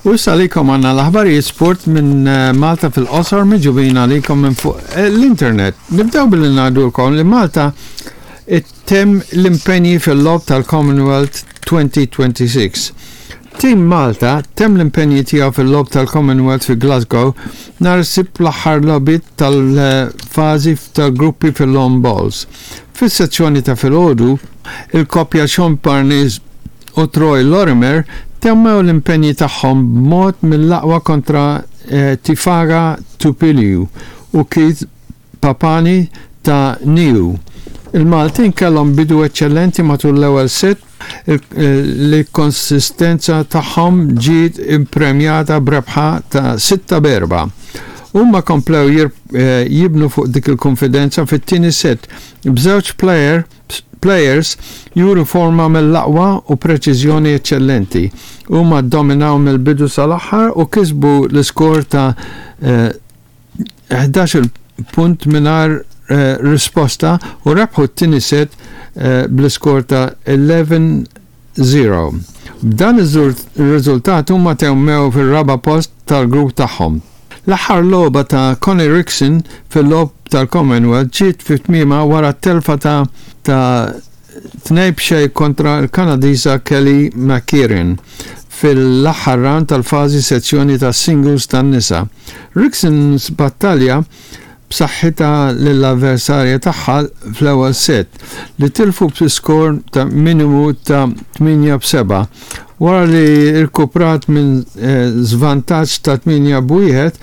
U issa għalikom għandna l-aħbarijiet sport minn eh, Malta fil-qosor miġubin għalikom minn fuq eh, l-internet. Nibdew billi ngħidulkom li Malta ittemm l-impenji fil-logħob tal-Commonwealth 2026. Tim Malta temm l-impenji tiegħu fil-logħob tal-Commonwealth fi Glasgow nhar is-Sibt bl-aħħar logħbiet tal-fażi tal-gruppi fil-lawn bowls. Fis-sezzjoni ta' filgħodu, il-koppja Sean Parnis u Troy Lorimer temmew l-impenji tagħhom b'mod mill-aqwa kontra Tifaga Tupiliu u Keith Papani ta' Niu. Il-Maltin kellhom bidu eċċellenti matul l-ewwel set li l-konsistenza tagħhom ġiet ippremjata b'rebħa ta' 6-4. Huma komplew jibnu fuq dik il-kunfidenza fit-tieni set b'żewġ player Players juru forma mill-aqwa u preċiżjoni eċċellenti. Huma ddominaw mill-bidu sal-aħħar u kisbu l-iskor ta' 11-il punt mingħajr risposta u rebħu t-tieni set bl-iskor ta' 11 0. B'dan ir-riżultat huma temmew fir-raba' post tal-grupp tagħhom. L-aħħar logħba ta' Connie Rixon fil-Logħob tal-Commonwealth ġiet fi tmiemha wara t-telfa ta' ta' 2-0 kontra l-Kanadiża Kelly McKerihen fil-aħħar round tal-fażi sezzjoni tas-singles tan-nisa. Rixon battalja b'saħħitha lill-avversarja tagħha fl-ewwel set, li tilfu bi skor ta' minimu ta' 8-7, wara li rkuprat minn żvantaġġ ta' 8-1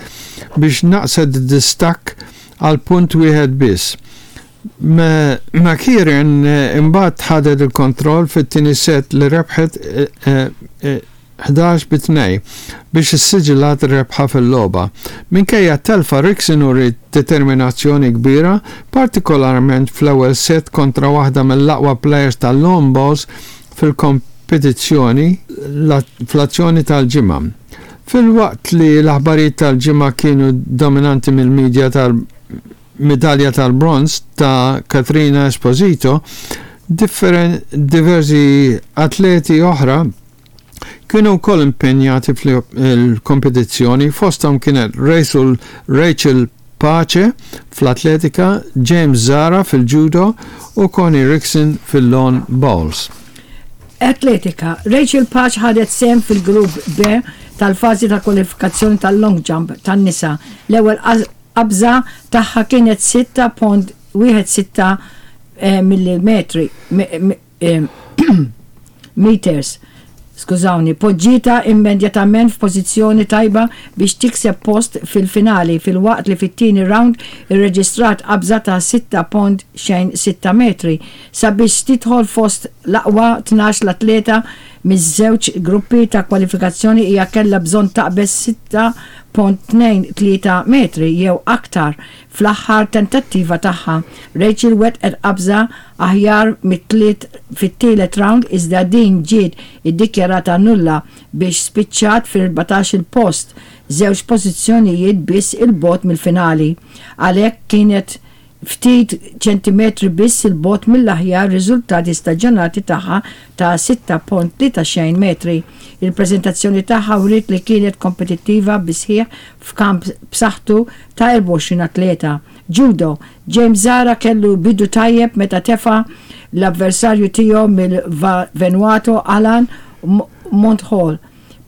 biex naqqset id-distakk għal punt wieħed biss. McKeeran imbagħad ħadet il-kontroll fit-tieni set li rebħet 11 bi 2 biex issiġillat ir-rebħa fil-logħba. Minkejja t-telfa Rixon uriet determinazzjoni kbira, partikolarment fl-ewwel set kontra waħda mill-aqwa plejers tal-lawn bowls fil-kompetizzjoni fl-azzjoni tal-Ġimgħa. Filwaqt li l-aħbarijiet tal-Ġimgħa kienu dominanti mill-media tal midalja tal-bronż ta' Katrina Esposito, diversi atleti oħra kienu wkoll impenjati fil-kompetizzjoni, fosthom kienet Rachel Pace fl-atletika, James Zahra fil-judo u Connie Rixon fil-lawn bowls. Atletika, Rachel Pace ħadet sehem fil-Grupp B tal-fażi ta' kwalifikazzjoni tal-long jump tan-nisa. L-ewwel Qabża tagħha kienet 6.16 millimetri, meters, skużawni, poġġietha immedjatament f'pożizzjoni tajba biex tikseb post fil-finali filwaqt li fit-tieni round irreġistrat qabża ta' 6.06 metri sabiex tidħol fost l-aqwa 12 l-atleta miż-żewġ gruppi ta' kwalifikazzjoni hija kellha bżonn taqbeż 6.23 metri jew aktar fl-aħħar tentattiva tagħha. Rachel wettqet qabża aħjar mit-tliet fit-tielet round iżda din ġiet iddikjarata nulla biex spiċċat fil-erbatax-il post, żewġ pożizzjonijiet biss 'il bogħod mill-finali. Għalhekk kienet ftit ċentimetri biss 'il bogħod mill-aħjar riżultati staġjonati tagħha ta' 6.30 metri. Il-preżentazzjoni tagħha wriet li kienet kompetittiva bis-sħiħ f'kamp b'saħħtu ta' 24 atleta. Judo, James Zahra kellu bidu tajjeb meta tefa' l-avversarju tiegħu mill-Vanuatu Alan Monthall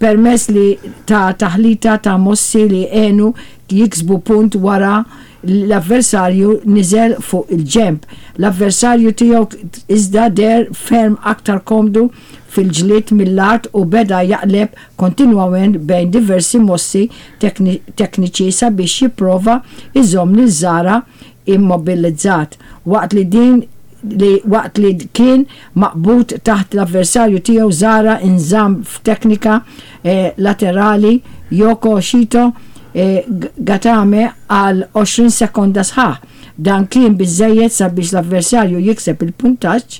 permezz li ta' taħlita ta' mossi li għenu jiksbu punt wara li l-avversarju niżel fuq il-ġenb. L-avversarju tiegħu iżda deher ferm aktar komdu fil-ġlied mill-art u beda jaqleb kontinwament bejn diversi mossi tekniċi sabiex jipprova jżomm lil Zahra immobilizzat waqt li din li waqt li kien maqbud taħt l-avversarju tiegħu Zahra inżamm f'teknika laterali Yoko Shito Gatame għal 20 sekonda sħaħ. Dan kien biżżejjed sabiex l-avversarju jikseb il-puntaġġ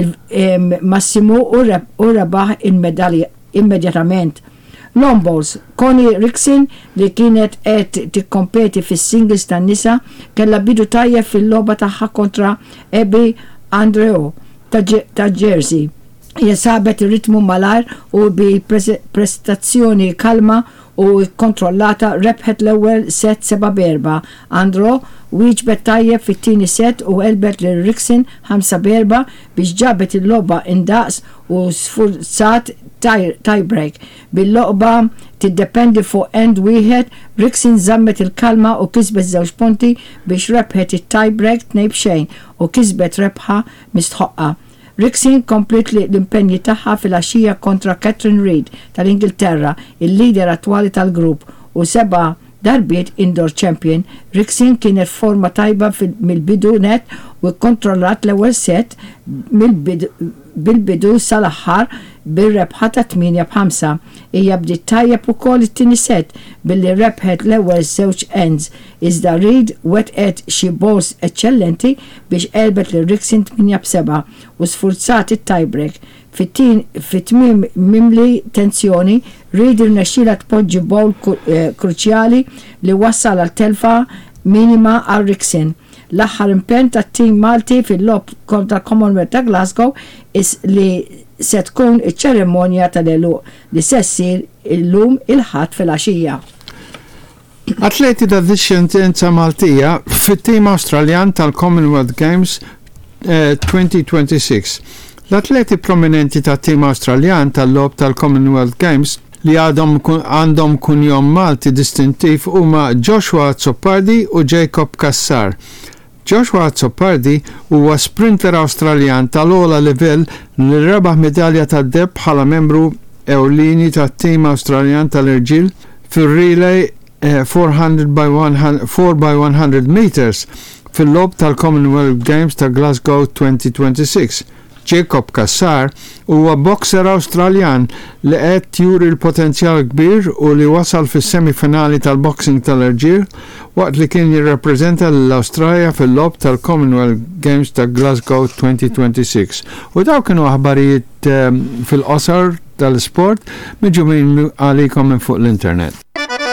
il-massimu u rebaħ il-medalja immedjatament. Lawn bowls, Connie Rixon li kienet qed tikkompeti fis-singles tan-nisa kellha bidu tajjeb fil-logħba tagħha kontra Abby Andreou ta' Jersey. Hija sabet ir-ritmu malajr u bi prestazzjoni kalma u kkontrollata rebħet l-ewwel set 7 b'erbgħa. Andro wieġbet tajjeb fit-tieni set u għelbet lil Rickson 5 b'erbgħa biex ġabet il-logħba indaqs u sfurzat tie-break. Bil-logħba tiddependi fuq end wieħed, Rickson żammet il-kalma u kisbet żewġ punti biex rebħet it-tie-break 2 b'xejn u kisbet rebħa mistħoqqa. Rickson kompliet l-impenji tagħha filgħaxija kontra Katrin Reid tal-Ingilterra, il-leader attwali tal-grupp u seba' darbiet indoor champion. Rickson kienet f'forma tajba mill-bidu nett u kkontrollat l-ewwel set bil-bidu sal-aħħar bir-rebħa ta' 8 b'ħamsa. Hija bdiet tajjeb ukoll it-tieni set billi rebħet l-ewwel żewġ ends iżda Reid wettqet xi bowls eċċellenti biex għelbet lil Rickson 8 b'sebgħa u sfurzat it-tie-break. Fi tmiem mimli tensjoni, Reid irnexxielha tpoġġi bowl kruċjali li wassal għal telfa minima għal Rickson. L-aħħar impenn tat-tim Malti fil-logħob kontra l-Commonwealth ta' Glasgow is li se tkun iċ-ċerimonja tal-għeluq li se ssir illum il-Ħadd filgħaxija. Atleti ta' dixxendenza Maltija fit-tim Awstraljan tal-Commonwealth Games 2026. L-atleti prominenti tat-tim Awstraljan tal-Logħob tal-Commonwealth Games li għadhom għandhom kunjom Malti distintiv huma Joshua Azzopardi u Jacob Cassar. Joshua Azzopardi huwa sprinter Awstraljan tal-ogħla livell li rebaħ midalja tad-deheb bħala membru ewlieni tat-tim Awstraljan tal-irġiel fir-relay 400 by 4x100 metres fil-Logħob tal-Commonwealth Games ta' Glasgow 2026. Jacob Cassar huwa boxer Awstraljan li qed juri l-potenzjal kbir u li wasal fis-semi-finali tal-boxing tal-irġiel waqt li kien jirrappreżenta lill-Awstralja fil-Logħob tal-Commonwealth Games ta' Glasgow 2026. U dawk kienu aħbarijiet fil-qosor tal-isport miġjumin għalikom minn fuq l-internet.